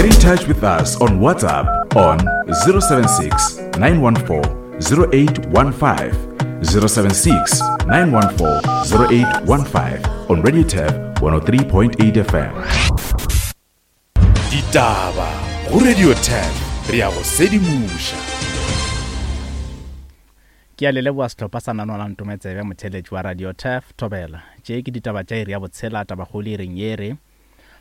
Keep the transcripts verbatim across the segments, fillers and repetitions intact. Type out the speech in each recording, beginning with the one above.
Get in touch with us on WhatsApp on zero seven six, nine one four, zero eight one five, zero seven six, nine one four, zero eight one five on Radio Turf one oh three point eight F M. Ditaba go Radio Turf, re ya go sedimoša. Ke a le leboha sehlopha sa Nano la Ntometsebe, motheeletši wa Radio Turf, Thobela. Tše ke ditaba tša iri ya botshela, tabakgolo e reng ye re.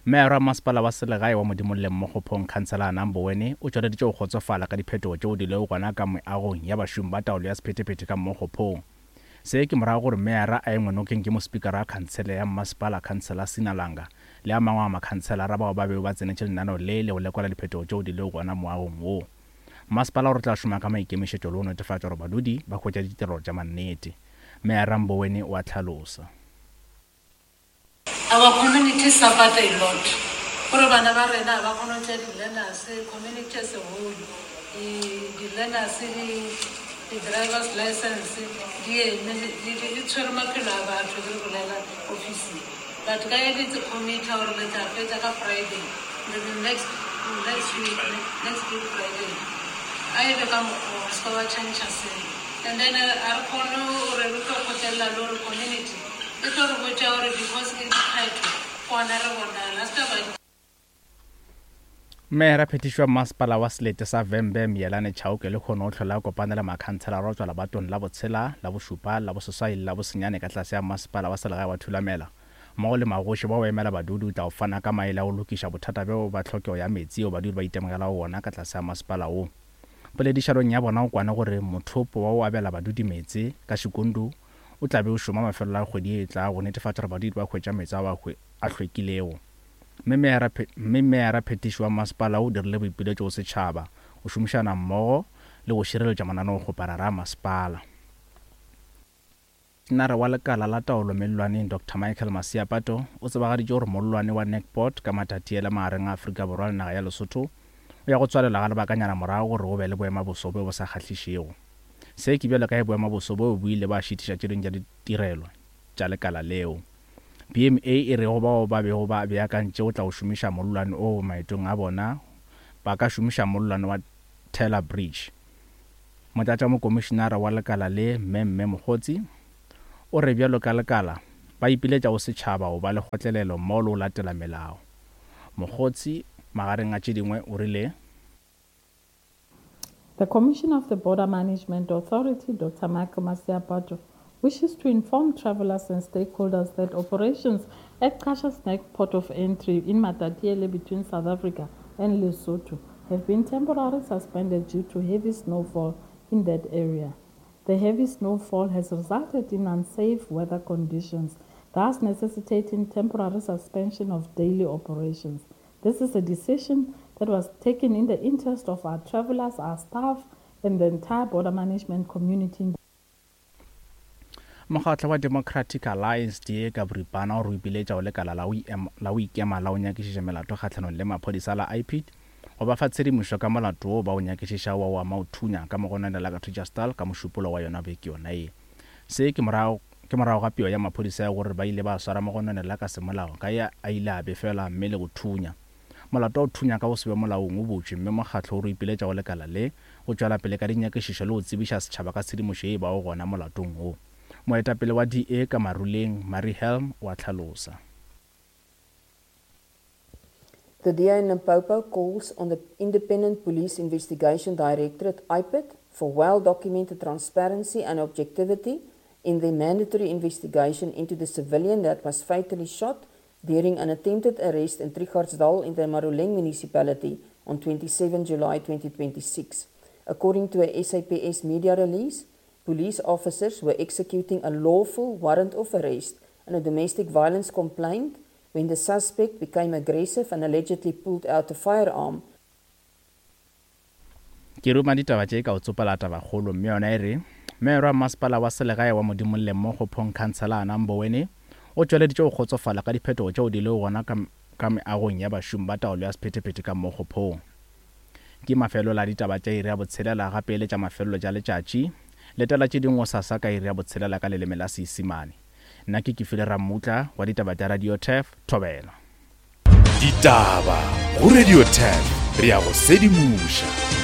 Meyara wa masepala wa selegae wa Modimolleng Mokgophong, Khansela Namboweni, o tšweleditše go kgotsofala ka diphetogo tšeo di lego gona ka meagong ya bašomi ba taolo ya sephethephethe ka Mokgophong. Se ke morago gore meyara a engwe nokeng ke mospikara wa khansele ya mmasepala, Khansela Sinalanga, le a mangwe a makhanselara bao ba bego ba tsenetše lenaneo le le go lekola diphetogo tšeo di lego gona moagong wo. Masepala o re tla šoma ka maikemišetšo le go netefatša gore badudi ba hwetša ditirelo tša mannete. Meyara Mboweni o a hlalosa. Our community suffered a lot. Gore bana ba rena ba kgone go tšea di-learners, community as a whole, di-learners, di-driver's license, di eme, di, di, di tshwere maphelo a batho ge re bolela officing. But ka e le committee gore le tla fetša ka Friday, the next, next week, next week Friday. A e be ka mokgwa o, se ka wa change selo. And then a re kgone gore re tlo kgotlelela le gore community e tlo re botša gore because ke dikgetho, gona re bonala, se ka ba Meyara phetišo wa masepala wa selete sa Vhembe Miyelani Chauke le kgone o hlola kopana le makhanselara go tšwa lebatong la botshela, la bošupa, la boseswai le la bosenyane ka tlase ya masepala wa selegae wa Thulamela. Mmogo le magoši bao emela badudi o tla o fana ka maele a go lokiša bothata bjo ba tlhokego ya metsi yeo badudi ba itemogelago wona ka tlase ya masepala wo. Poledišanong ya bona o kwane gore mothopo wa o abela badudi meetse ka Xikundu o tla be o šoma mafelelo a kgwedi e tla go netefatša gore badudi ba hwetša meetse ao a hlwekilego. Mme meyara phe-, mme meyara phetiši wa masepala o dirile boipiletšo go setšhaba go šomišana mmogo le go šireletša mananeokgoparara a masepala. Nare wa lekala la taolo mellwaneng Doctor Michael Masiapato o tsebagaditše gore mollwane wa Nekport ka Matatiele magareng a Afrika Borwa le naga ya Lesotho o ya go tswalela ga lebakanyana morago gore go be le boemaboso bjo bo sa kgahlišego. Se ke bjalo ka ge boemaboso bjo bo ile ba šitiša tše dingwe tša ditirelo tša lekala leo. B M A e re go bao ba bego ba beakantše go tla go šomiša mollwane oo maetong a bona, ba ka šomiša mollwane wa Taylor Bridge. Motlatšamokomišenara wa lekala le, Mme Mme Mokgotsi, o re bjalo ka lekala ba ipiletša go setšhaba go ba le kgotlelelo mmogo le go latela melao. Mokgotsi magareng a tše dingwe o rile The Commissioner of the Border Management Authority, Doctor Michael Masiapato, wishes to inform travelers and stakeholders that operations at Qacha's Nek Port of Entry in Matatiele between South Africa and Lesotho have been temporarily suspended due to heavy snowfall in that area. The heavy snowfall has resulted in unsafe weather conditions, thus necessitating temporary suspension of daily operations. This is a decision that was taken in the interest of our travelers, our staff, and the entire border management community. Mokgatlo wa Democratic Alliance D A ka boripana o re ipiletša go lekala la go em-, la go ikema la go nyakišiša melato kgahlanong le maphodisa la I P I D go ba fa tshedimošo ka molato wo ba o nyakišiša wa o ama o thunya ka mogononela la ka Treasure ka mošupolo wa yona beke yona ye. Se ke morago, ke morago ga peo ya maphodisa ya gore ba ile ba swara mogononela ka semolao ka ye a ile a befelwa mme le go thunya. Molato wa go thunya ka go se be molaong o butšwe mme mokgatlo o re ipiletša go lekala le go tšwela pele ka dinyakišišo le go tsebiša setšhaba ka tshedimošo ye e bago gona molatong wo. Moetapele wa D A ka Maruleng, Marie Helm, wa hlalosa. The D A in Limpopo calls on the Independent Police Investigation Directorate, I P I D, for well-documented transparency and objectivity in the mandatory investigation into the civilian that was fatally shot during an attempted arrest in Trichardsdal in the Maruleng municipality on twenty-seven July twenty twenty-six. According to a S A P S media release, police officers were executing a lawful warrant of arrest and a domestic violence complaint when the suspect became aggressive and allegedly pulled out a firearm. Ke ruma ditaba tše ka o tsopela tabakgolo, mme yona e re meyara wa masepala wa selegae wa Modimolle mo Kgophong, Khansela Anna Mboweni, o tšweleditše go kgotsofala ka diphetogo tšeo di lego gona ka, ka meagong ya bašomi ba taolo ya sephethephethe ka mo Kgophong. Ke mafelo la ditaba tša iri ya botshelela gape le tša mafelelo tša letšatši. Letela tše dingwe gosasa ka iri ya botshelela ka leleme la Seisemane. Nna ke Kefile Rammutla wa ditaba tša Radio Turf, Thobela. Ditaba Go Radio ten re ya go sedimoša.